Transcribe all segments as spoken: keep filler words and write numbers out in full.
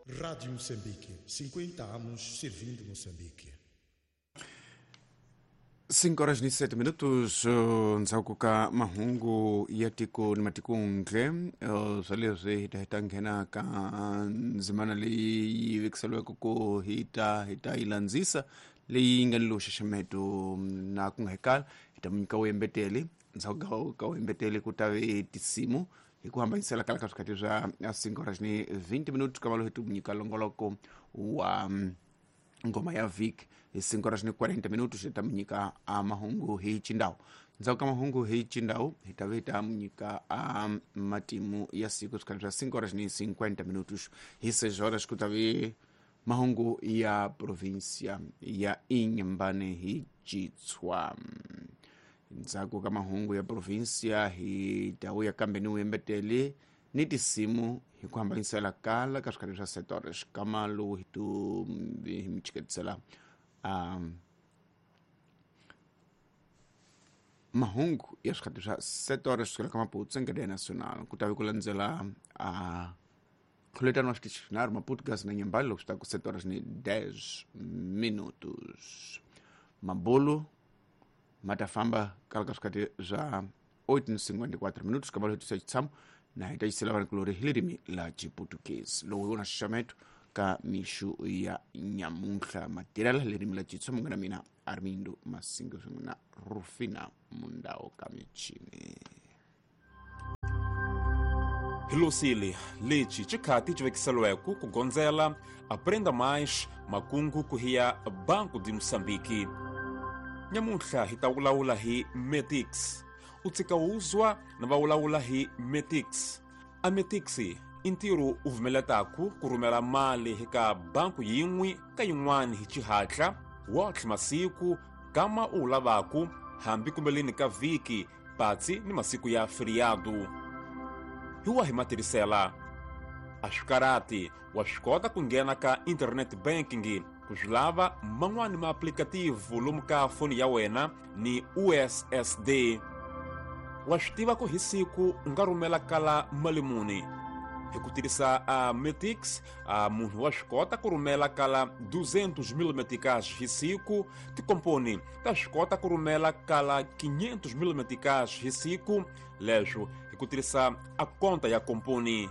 Rádio Moçambique, cinquenta anos servindo Moçambique. cinco horas e sete minutos, ndzhaku ka mahungu ya tiko ni matikuntle, swa leswi hi ta hi ta nghena ka ndzimana leyi yi vekiseliweke ku hi ta hi ta yi landzisa leyi nga ni lowu xaxameto na ku nga hekala hi ta nyika wuyembeteli. Ndzhaku ka wuyembeteli ku ta ve tinsimu hi ku hambanyisela kala ka swikhathi swa cinco horas ni vinte minutos ka valo hi tu nyika longoloko wa ngoma ya vhiki hi cinco horas ni quarenta minutos hi ta mi nyika a mahungu hi xindhawu. Ndzhaku ka mahungu hi xindhawu hi ta ve ta mi nyika a matimu ya siku swikhathi swa cinco horas ni cinquenta minutos. Hi seis horas ku ta ve mahungu ya provincia ya Inhambane hi Xitswa. Ndzhaku ka mahungu ya provincia hi ta vuya kambe ni wuyembeteli ni tinsimu hi ku hambanyisela kala ka swikhathi swa sete horas kama lowu hi tu hi mi chiketisela um, mahungu ya swikhathi swa sete horas kusukela ka Maputo Nkedeya Nacional ku ta ve ku landzela a khuletano wa xitichi xinharhu Maputo Gas na Nyambali loko swi ta ku sete horas ni dez minutos. Mabulu ma ta famba kala ka swikhathi swa oito ni cinquenta e quatro minutos kama lowu hi tisa xitshamo na hi ta yisela vanhu hi ririmi la Xiputukezi. Lowu hi wona xaxameto ka mixu ya nyamuntlha matirela ririmi la Xitsonga munghana mina Armindo Masingo swin'we na Rufina Mundao ka michini. Hilosile lexi xikhati xi vekiseliweke ku gondzela Aprenda Mais makungu ku hiya Banco de Moçambique. Nyamuntlha hi ta vulavula hi Metix. U tshika wuzwa na va vulavula hi Metix. A Metix i ntirho u vumeletaku ku rhumela mali hi ka banku yin'we ka yin'wana hi xihatla wotlhe masiku kama u wu lavaku hambi kumbeleni ka vhiki patsi ni masiku ya feriado. Hi wa hi matirhisela a swi karati wa swi kota ku nghena ka internet banking ku swi lava man'wani ma-applicative lomu ka foni ya wena ni U S S D. Wa swi tiva ku hi siku u nga rhumela kala mali muni hi ku tirhisa a Metix. A munhu wa swi kota ku rhumela kala duzentos mil meticais hi siku. Tikomponi ta swi kota ku rhumela kala quinhentos mil meticais hi siku, leswo hi ku tirhisa a konta ya komponi.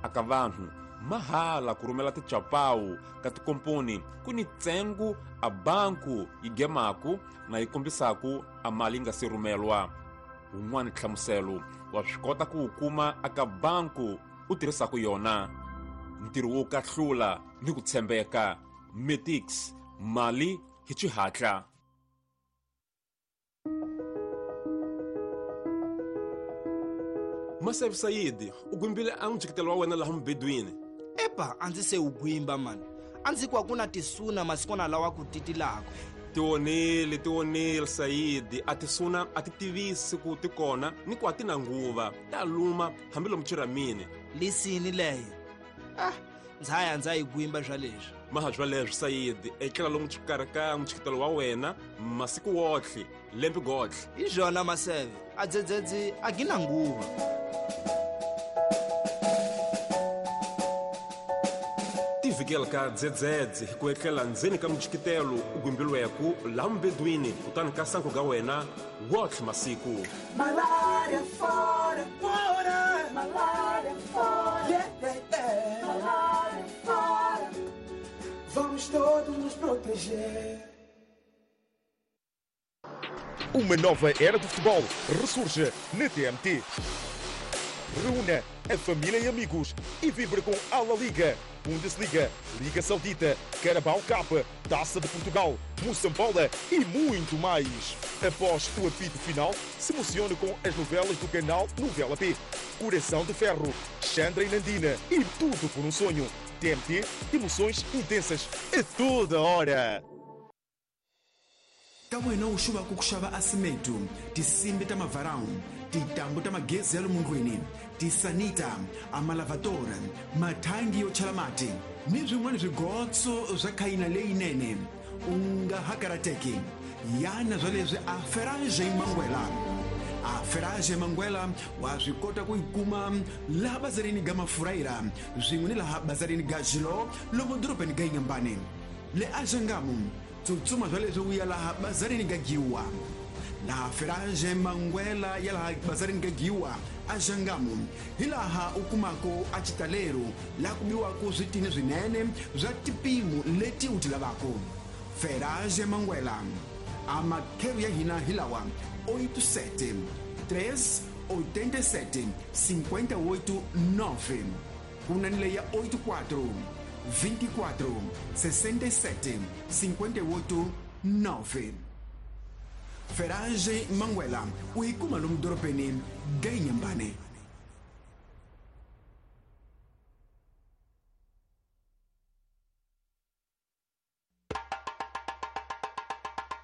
Aka vanhu mahala ku rhumela tichapawu ka tikomponi ku ni ntsengo a banku yi gemaku na yi kombisaku a mali yi nga se rhumelwa. Wun'wani nhlamuselo wa swi kota ku wu kuma aka banku u tirhisaku yona. Ntirho wo kahlula ni ku tshembeka. Metix, mali hi xihatla. Masevi Saidi, u gwimbile a n'wi wa wena laha mubedweni. Epa, a ndzi se wu gwimba mani. A ndzi ku a ku na tisuna masikwana lawa ku titilaka. Tionile, tionile Saidi, a tisuna a ti tivisi ku ti kona ni ku a ti na nguva, ta luma hambi lomu chiramini. Lisini leyo. Ah, ndza ya ndza yi gwimba swa leswi. Maha swa leswi Saidi, etlela lomu xikarhi ka mutshikitelo wa wena masiku wotlhe, lembe gotlhe. Hi swona Maseve, a dzedzedzi a gi na nguva. Tivikela ka dzedzedze hi ku etlela ndzeni ka mutshikitelo u gwimbilweku laha mubedweni kutani ka sanku ga wena wotlhe masiku. Malaria fora, fora, malaria fora, yeah, yeah, yeah. Malaria fora. Vamos todos nos proteger. Uma nova era do futebol ressurge na T M T. Reúna a família e amigos e vibre com a La Liga, Bundesliga, Liga Saudita, Carabao Cup, Taça de Portugal, Moçambola e muito mais. Após o apito final, se emocione com as novelas do canal Novela P, Coração de Ferro, Chandra e Nandina e Tudo por um Sonho. T M T, emoções intensas a toda hora. Ka wena u xuva ku xava asimetu, tinsimbi ta mavarau, tintambu ta magezi ya lumundlwini, tisanita, amalavadora, mathangi yo chela mati ni swin'wana swigotso swa khayina leyinene, u nga ha karateki. Yana swa leswi a Ferrage Mangwela. A Ferragem Manguela wa swi kota ku yi kuma laha bazarini ga Mafuraira swin'we ni laha bazarini ga Jilo lomu dorobeni ga Inhambane. Le Axangamu tsutsuma swa leswi u ya laha bazarini ga Giwa. Laha Ferragem Manguela ya laha bazarini ga Giwa Axangamu hi laha u kumako a xitalelo laha ku biwaka switini swinene swa tipimo leti u ti lavaka. Ferragem Manguela a makhelo ya hina hi lawa oito sete três oitenta e sete cinquenta e oito nove ku na ni leyi ya oito quatro vinte e quatro sessenta e sete cinquenta e oito nove. Ferragem Manguela u yi kuma lomu dorobeni ga Inhambane.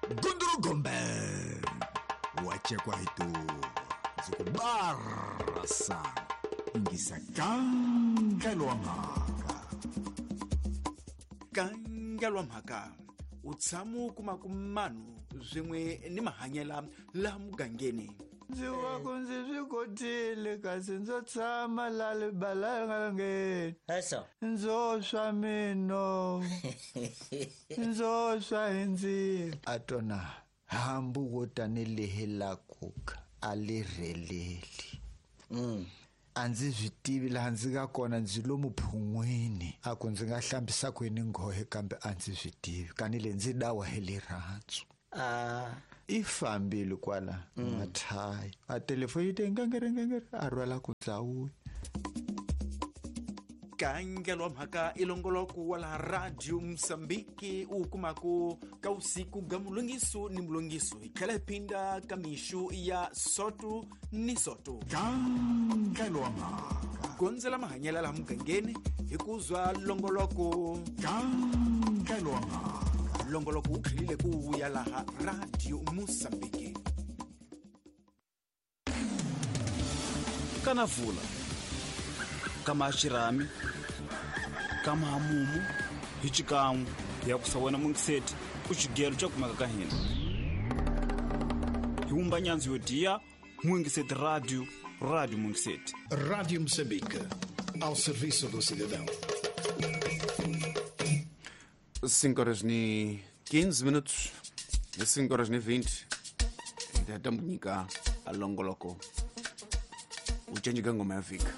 Gunduru Gombe wachekwa hitu zikubarasa ingisa kangelwa mhaka kangelwa mhaka u tshama u kuma ku manu swin'we ni mahanyela laha mugangeni. Ndzi wa ku ndzi swi kotile kasi ndzo tshama la libalangeni ndzo swa mino ndzo swa hi ndzilo a tona hambu wo tanihi la kuka a li rheleli. A ndzi swi tivi laha ndzi nga kona ndzi lomu phun'wini a ku ndzi nga hlambisa kwini nghohe kambe a ndzi swi tivi kanile ndzi dawa hi rirhandzu. I fambile kwala mathayi a telefoni yi te ngengere ngengere a rhwala ku dlawuya. Kangelwa mhaka i longoloko wa laha Radio Mozambique u kumako ka usiku ga mulongiso ni mulongiso hi tlhela hi phinda ka mixu ya soto ni soto. Kangelwa mhaka gondzela mahanyela laha mugangeni hi ku zwa longoloko. Kangelwa mhaka longoloko wu tlhelile ku vuya laha Radio Mozambique. Kana vula kama xirhami kama hamumu hi xikan'we ya ku sa wena mungiseti u xigelo xa kumeka ka hina hi wumba nyandzu yo diya Mungiseti Radio Radio Mungiseti. Rádio Moçambique ao serviço do cidadão. cinco horas e quinze minutos, cinco horas e vinte. Ndatamunyika alongoloko uchenjika ngoma ya fika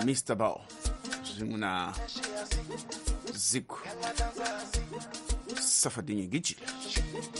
Mister Bao swin'we na Ziku Safadinye Gijile.